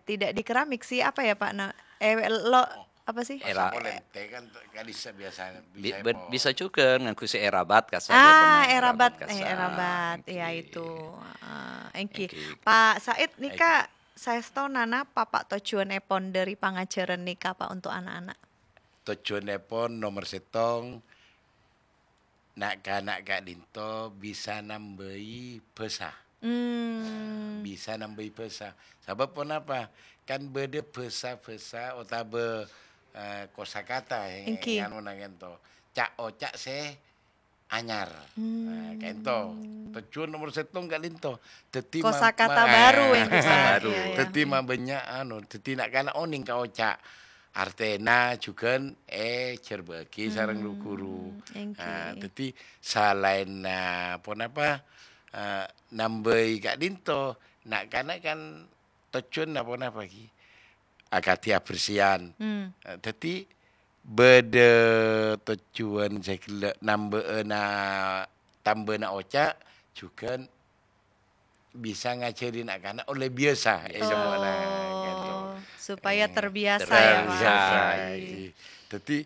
tidak di keramik sih, apa ya, Pak? Na-, eh, lo-, apa sih? Oh. Era-, pasapo lèntè kan, kan bisa biasa, bi-, bisa ber-, po-, bisa jhughân ngangghuy sè èrabat kassa', ah, èrabat, èrabat kassa'. Eh, èrabat, ya, èngghi, itu. Ah, èngghi. Èngghi. Pak Said nèka, èngghi, saèstona napa, Pak, tojjhuwânnèpon dâri pangajhârân nèka, Pak, untuk anak-anak? tojjhuwânnèpon nomer sèttong, na'-kana' ka'dinto bisa nambâi bhâsa. Hmm. Bisa nambâi bhâsa. Sabâb ponapa? Kan bâdâ bhâsa-bhâsa otabâ, eh, kosakata, eh, Èngghi. Nganu nangènto. Ca'-oca' sè anyar. Hmm. Nah, ka'dinto. Tojjhuwân nomer sèttong ka'dinto. Dhâddhi ma-, Kosakata ma-, baru, eh, ya, kosakata baru. Iya, iya. Dhâddhi mabânnya', anu, dhâddhi na'-kana' onèng ka oca'. Artèna jhughân èjhârbâ'aghi sareng Hmm, ru-ghuru. Èngghi. Nah, dhâddhi salaènna ponapa, eh, nambâi ka'dinto, na'-kana' kan tojjhuwânna ponapa ghi? Akadhi abersèyan. Hmm. Eh, dhâddhi bâdâ tojjhuwân sè ghellâ' nambâ'âna tambâna oca', jhughân bisa ngajhâri na'-kana' ollè biyasa, eh, Oh, semo'na, gitu. Supaya Eh, terbiasa ya, Pak. Terbiasa, Iya. Ghi. Dhâddhi,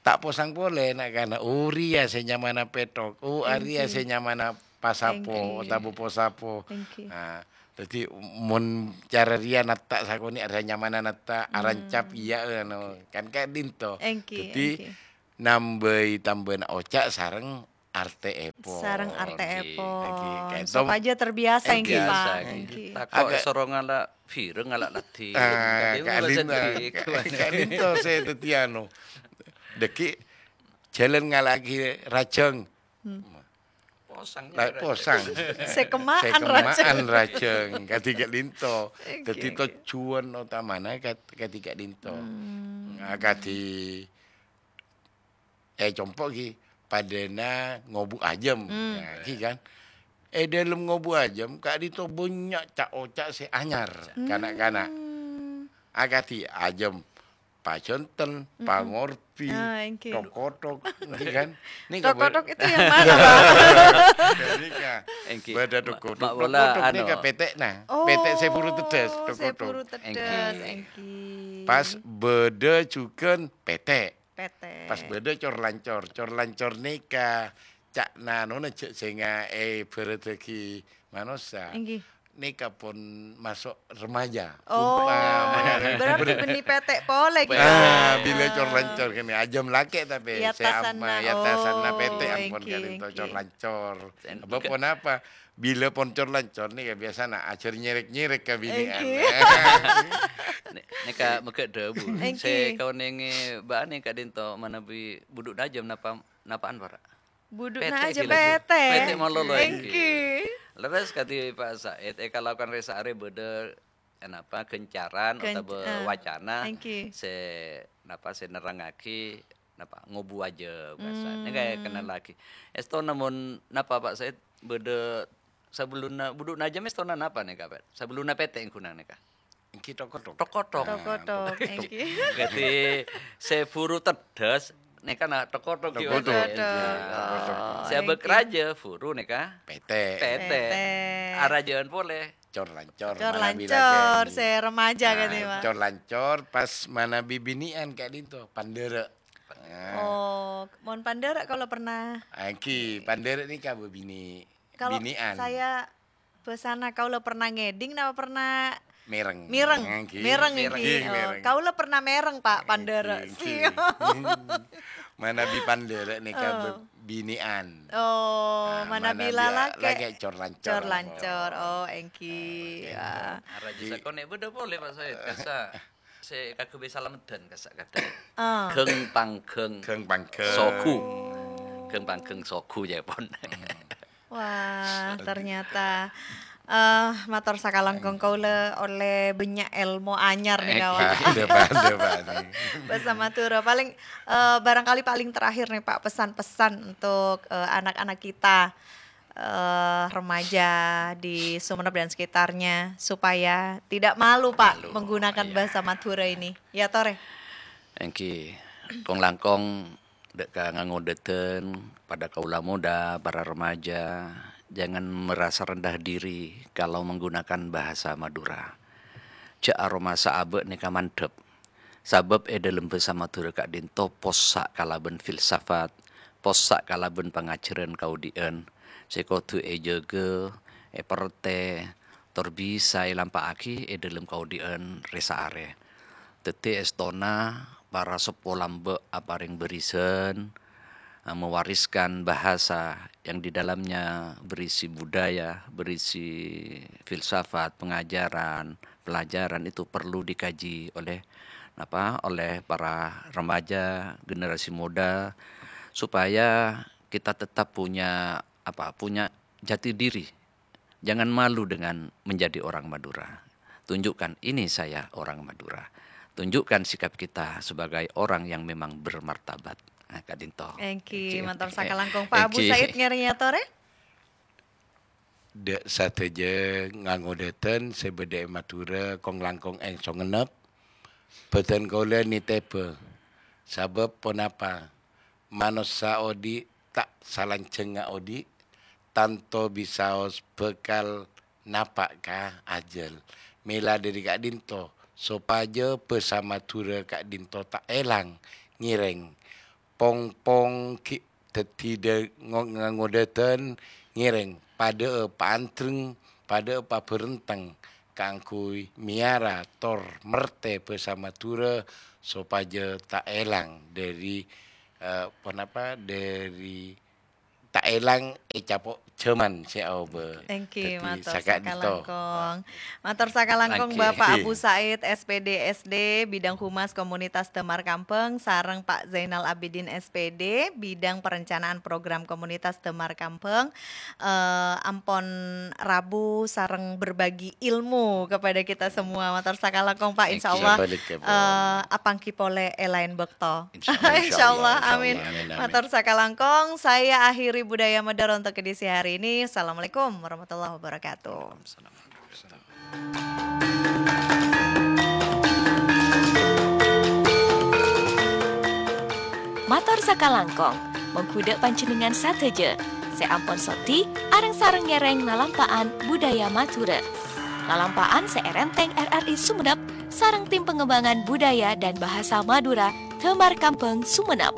ta' posang polè na'-kana', "Oh, rèya sè nyamana pèthok, oh, arèya Èngghi. Sè nyamana pasapo, Èngghi. Otabâ posapo." Èngghi. Nah, dhâddhi mon cara rèya natta' sakonè' arèya nyamana natta', arancap Hmm. iyâ, anu, kan ka'dinto. Èngghi, Dhâddhi, èngghi. Nambâi tambâna oca' sareng artèèpon. Sareng artèèpon. Èngghi, ka'dinto. Supaya terbiasa, èngghi, Pak. Terbiasa, èngghi. Èngghi. Tako' Agak èsoro ngala' vireng, ngala' ladhi. Ah, Kadhi ka'dinto, ngala' ladhi. Ka'dinto sè dhâddhi anu. Dhâggi' jhâlân ngala'aghi rajâng. Hmm. Posang Lah, nyamana posang. Sè kemma'an Sè kemma'an rajâng. Rajâng. Kadhi ka'dinto. Èngghi, Dhâddhi èngghi. Tojjhuwân otamana kad-, kadhi ka'dinto. Hmm. Nah, kadhi È compo' ghi, padâna ngobu ajâm. Hmm. Nah, ghi kan. È dâlem ngobu ajâm, ka'dinto bânnya' ca'-oca' sè anyar, Hmm. kana'-kana'. Akadhi ajâm, pajonten, Mm-mm. pangorbi, Ah, èngghi. Tok-kotok, ghi kan. Nèka Tok-kotok bâ-, itu yang mana, Pak? Nèka. Èngghi. Bâdâ Ma-, tok-kotok. ma-, wala Tok-kotok anu. Nèka pètè'na. Oh, Pètè' sè buru tedhâs, sè tok-kotok. Buru tedhâs, Èngghi. Èngghi. Pas bâdâ jhughân pètè'. Pètè'. Pas bâdâ cor-lancor. Cor-lancor nèka ca'na nona jhâ' sènga' èbhârâddhâghi manossa. Èngghi. Nèka pon maso' remaja. Oh, Umpama. Berarti bânnè pètè' polè, ghi. Ah, bilâ cor-lancor kènè ajâm lakè' tapè Yatasanna, sè ama-, yatasanna oh, pètè' ampon èngghi, ka'dinto èngghi. Cor-lancor. Sen-, Apa enggak. Ponapa? Bilâ pon cor-lancor nèka biasana ajhâr nyèrèk-nyèrèk ka binè'an. Èngghi. Nè-, nèka mèghâ' dhâbu. Èngghi. Sè kaonèngè bâ'na ka'dinto manabi budhu'na ajâm napa, napa'an para'? Budhu'na Pètè' ajâm ghi laju. Pètè'. Pètè' malolo, èngghi. Èngghi. Leres kadhi Pak Said, è kalakowan rè-saarè bâdâ, eh, napa, ghâncaran Ghânc-, otabâ ah, wacana èngghi. Sè, napa, sè nerrangngaghi napa, ngobu ajâm, bhâsa. Hmm. Nèka kenal lagi. Èstona mon napa, Pak Said, bâdâ sabellunna, budhu'na ajâm èstona napa nèka, Pak? Sabellunna pètè' ghunang nèka? Èngghi tok-kotok. Tok-kotok. Tok-kotok, èngghi. Dhâddhi sè buru tedhâs nèka na tok-kotok ghi, Tok-kotok. Pak Said. Tok-kotok. Nah. Oh, Sè abâk èngghi. Rajâ buru nèka? Pètè'. Pètè'. Pètè'. Arajâân polè. Cor-lancor, Cor-lancor, manabi lakè'. Sè remaja Nah, kan, ya, Pak? Cor-lancor pas manabi binè'an ka'dinto, pandârâ'. Oh, mon pandârâ' kaulâ pernah. Èngghi, pandârâ' nèka bâbinè', Kalau binè'an. Saya bhâsana kaulâ pernah ngèdhing napa pernah Mèreng. Mèreng. Èngghi. Mèreng, èngghi. Èngghi, oh, mèreng. Kaulâ pernah mèreng, Pak, pandârâ'. Èngghi, èngghi. Sio. Manabi pandârâ' nèka Oh. bâ-, binè'an. Oh, Nah, manabi manabi lalakè'. Lakè' cor-lancor. Cor-lancor. Oh, èngghi. Nah, Ah. Arajâ Di- sakonè' bâdâ polè, Pak Said. Kassa' sè kaghâbây salameddhân kassa' kadhâng. Ah. Ghâng pangghâng Ghâng pangghâng. Sogu. Ghâng pangghâng sogu, ya, pon. Hmm. Wah, ternyata, eh, mator sakalangkong kaulâ ollè bânnya' èlmo anyar nèka, Pak. Èngghi. Bâdâ, bâdâ, bâdâ. Bhâsa Madhurâ. Paling, eh, barangkali paling terakhir nih, Pak, pesan-pesan untuk, eh, anak-anak kita, eh, remaja di Sumenep dan sekitarnya, supaya tidak malu, Pak, Malu, menggunakan iya. Bahasa Madura ini. Ya, Tore? Èngghi, kong-langkong dâ' ka ngangodâdhân, padâ kaulâ moda, para remaja, jangan merasa rendah diri kalau menggunakan bahasa Madura. Jhâ' aromasa abâ' nèka mandhâp. Sabâb è dâlem bhâsa Madhurâ ka'dinto possa' kalabân filsafat, possa' kalabân pangajhârân kaodi'ân, sè kodhu èjâgâ, èpertè, tor bisa èlampa'aghi è dâlem kaodi'ân rè-saarè. Dhâddhi èstona para seppo lambâ' aparèng bârisân, eh, mewariskan bahasa yang di dalamnya berisi budaya, berisi filsafat, pengajaran, pelajaran itu perlu dikaji oleh, apa, oleh para remaja, generasi muda, supaya kita tetap punya, apa, punya jati diri. Jangan malu dengan menjadi orang Madura. Tunjukkan, "Ini saya orang Madura." Tunjukkan sikap kita sebagai orang yang memang bermartabat. Nah, ka'dinto. Èngghi, mator sakalangkong. Pak Abu Said ngèrèng èyatorè? Dâ' sadhâjâ ngangodâtèn sè bâdâ è Madhurâ, kong-langkong èngsong ngennep. Bhâdhân kaulâ nitèbhâ. Sabâb ponapa? Manossa odi' ta' salanjhângnga odi', tanto bisaos bhâkal napa' ka ajhâl. Mèla dâri ka'dinto, sopajâ bhâsa Madhurâ ka'dinto ta' èlang, ngèrèng. Pong-pong ghi' dhâddhi dâ-, ngo-, ngangodâtèn ngèrèng, padâ'â paandreng, padâ'â pabhârenteng kaangghuy mèyara tor mertè bhâsa Madhurâ sopajâ ta' èlang dâri, eh, ponapa, dâri ta' èlang è capo' jhâman sè aobâ. Èngghi, mator sakalangkong. Mator sakalangkong, Bapak Abu Said, S P D S D, Bidang Humas Komunitas Damar Kambhâng, sareng Pak Zainal Abidin, S P D, Bidang Perencanaan Program Komunitas Damar Kambhâng, eh, ampon rabu sareng berbagi ilmu kepada kita semua. Mator sakalangkong, Pak. Insyaallah, eh, apangghi polè è laèn bâkto. Insyaallah, insyaallah. Amin. Amin, amin. Mator sakalangkong, saya akhiri Budaya Madhurâ untuk edisi hari ini. Assalamualaikum warahmatullahi wabarakatuh. Mator sakalangkong, mongghu dâ' panjhennengngan sadhâjâ sè ampon sodi areng-sareng ngèrèng lalampa'an Budaya Madhurâ. Lalampa'an sè èrèntèng R R I Sumenep sareng Tim Pengembangan Budaya dan Bahasa Madura Damar Kambhâng Sumenep.